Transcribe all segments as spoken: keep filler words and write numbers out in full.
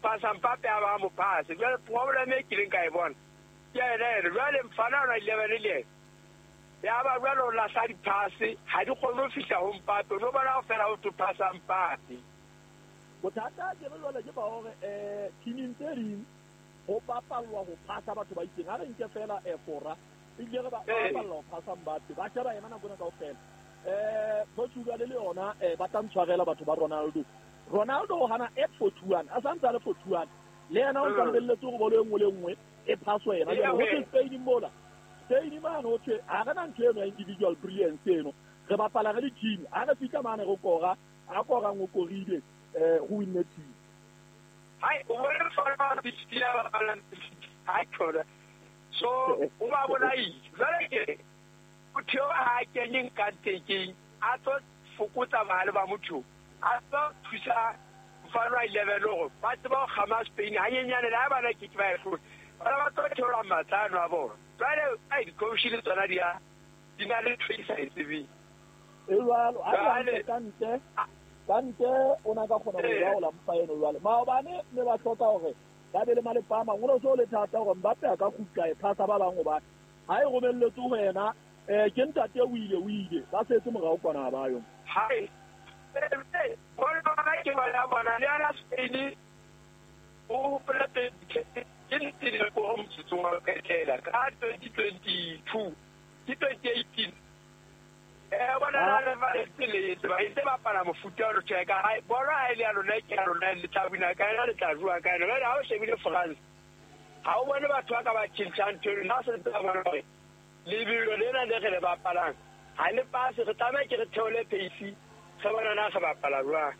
phasa Mbappe a ba mo phase. Jwale problem e kileng ka e bona ke ena ene. Jwale mfana ona eleven le ena ya ba jwale o lahla diphase, ha di kgone ho fihla ho Mbappe. O no bona ho fela ho phasa Mbappe. Bothata ke re jwale ke ba hore eh teaming tse ding ho bapallwa ho phasa batho ba itseng. Ha re nke fela eh Fora ebile re ba bapalla ho phasa Mbappe, ba sheba yena nako ena kaofela. Eh Portugal le yona eh ba tla ntshwarela batho ba Ronaldo. Ronaldo o hana at forty-one, a santse a le forty-one. Le yena o ntse lebelletse hore bolo e nngwe le nngwe e phaswe yena. Jwale ho thwe Spain mola, Spain mane ho thwe ha re na ntho eno ya individual brilliance eno, re bapala re le team. Ha re fihla mane re kora, a korang o korile eh ho winne team. Hai o bona fana fifty ya bapalang hai khona. So o ba bona eng jwale ke motho eo ha a kenyeng ka tekeng a tlo fokotsa bahale ba motho, a tlo thusa mfana wa eleven hore ba tseba ho kgama Spain hanyenyane. Le ha bana ke ke ba e hlole, bana ba tlo theola matla ano a bona. Jwale ai di-coach le tsona di a di na le ntho e sa e tsebeng. E jwalo ha e ka ntle ka ntle o na ka kgona ho laola mpa eno. Jwale maobane ne ba hloka hore ba be le malepa a mang. Ho no so le thata hore Mbappe a ka kgutla e phasa ba bang, hobane ha e romelletse ho yena eh ke ntate o ile o ile ba setse morao kwana ha ba yo. Hai bona ba ke bona bona le ana Spain o hopola ke ntile ko motsotsong wa qetela ka twenty twenty-two ke twenty eighteen. Eh bona na le ba le ba itse bapala mofuta o tjeka hai bona ha ile ya lona ke ya lona le tla wina ka ena le tla jwa ka ena. Jwale ha o shebile France ha o bone batho ba ka ba tjhentjha ntho eno. Na se tsa bona hore lebelo lena le re le bapalang ha le pase, re tlameha ke re theole pace re bona na re bapala jwang.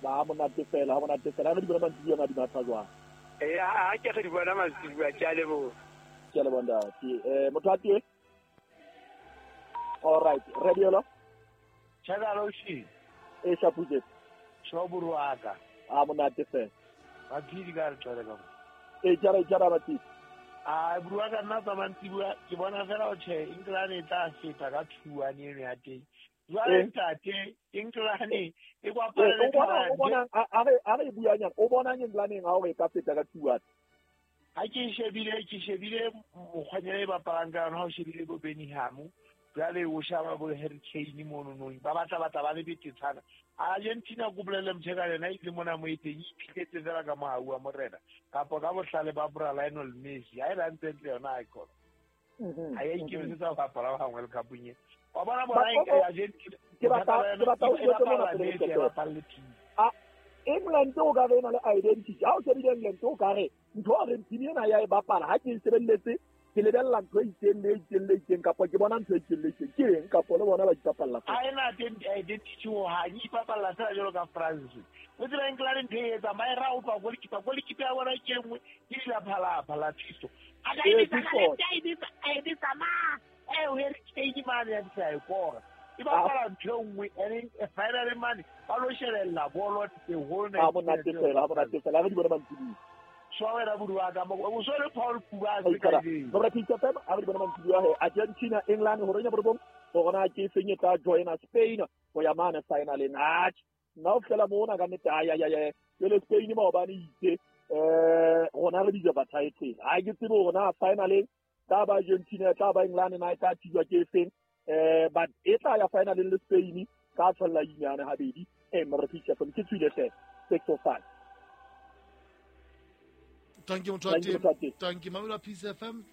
Ba monate fela, ha monate fela. Re di bona mantsibuya ma di matha jwang. Eh ha ke re di bona mantsibuya. Ke a leboha. Ke a leboha ntate. Eh motho a teng. All right, radio. Chagalo shi. E shapuje. Shoburuaka. A monate fela. Ba phidi ka re tswele ka. E jara jara ba tsi. A buruaka nna tsa mantsibuya ke bona fela o tjhe England e tla feta ka two one eno ya teng. Jwale ntate England e kwapala le bona o bona a re a re buanyana o bona England ha o e ka feta ka two one. Ha ke shebile ke shebile mokgwanyana e bapalang ka yona, ha o shebile bo Bellingham jwale o shaba bo Harry Kane mono nong ba batla batla ba le betetshana. Argentina ko bolele mtheka lena ile mona mo eteng iphiletse fela ka mohau wa morena kapa ka bohlale ba bra Lionel Messi. Ha e la ntse ntle yona icon ha ya ikemisetsa ho bapala ba World Cup nye wa bona bona Argentina ke batla ke batla o jwetse mona pele a England o ka re na le identity. Ha o shebile England o ka re ntho a re team ena ya e bapala ha ke e sebelletse ke lebella ntho e itseng le itseng le itseng kapa ke bona ntho e itseng le itseng ke eng kapa le bona ba ipapalla. Ha ena identity ho ha e ipapalla fela jwalo ka France. O tseba England ntho e etsang ba e ra utlwa goalkeeper, goalkeeper ya bona ke nngwe ke dilaphalapha la Fiso. A ka e bitsa ka left, a e bitsa a e bitsa ma eh o Harry Kane mane ya ditsa e kora. E bapala ntho e nngwe and finally mane ba lo shebella bolo the whole night. Ha monate fela, ha monate fela re di bona mantsibuya. Shwawela buruaka mo o so le Paul Pogba se ka ding. Ba re F M a re di bona mantsibuya he Argentina England hore nya borobong hore na ke seng e tla joina Spain ho ya mane finaleng. Atjhe nna o fela mona ka nnete ay ay ay jwale Spain maobane itse eh rona re bija ba title. Ha ke tsebe hore na finaleng tla ba Argentina tla ba England na e tla thijwa ke feng eh but e tla ya finaleng le Spain ka tshwella inyane habedi eh mare F M ke tswile hle six oh five. Thank you motho wa teng. Thank you Mamela Peace F M.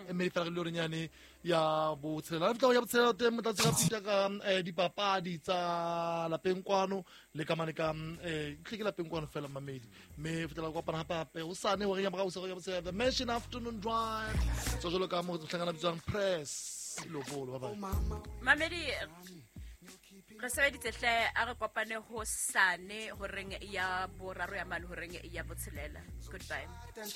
E mme fela re le renyane ya botshelela. Re fitla ya botshelela teng motlatsi ga pita ka dipapadi tsa lapeng kwano le ka mane ka eh ke lapeng kwano fela mamedi. Mme fitla kopana hape hape o sane hore ya morao se ya botshelela The Mansion Afternoon Drive. So jalo ka mo hlangana bitswang press lobolo ba ba. Mamedi re sebeditse hle a re kopane ho sane horeng ya boraro ya mane horeng ya botshelela. Goodbye.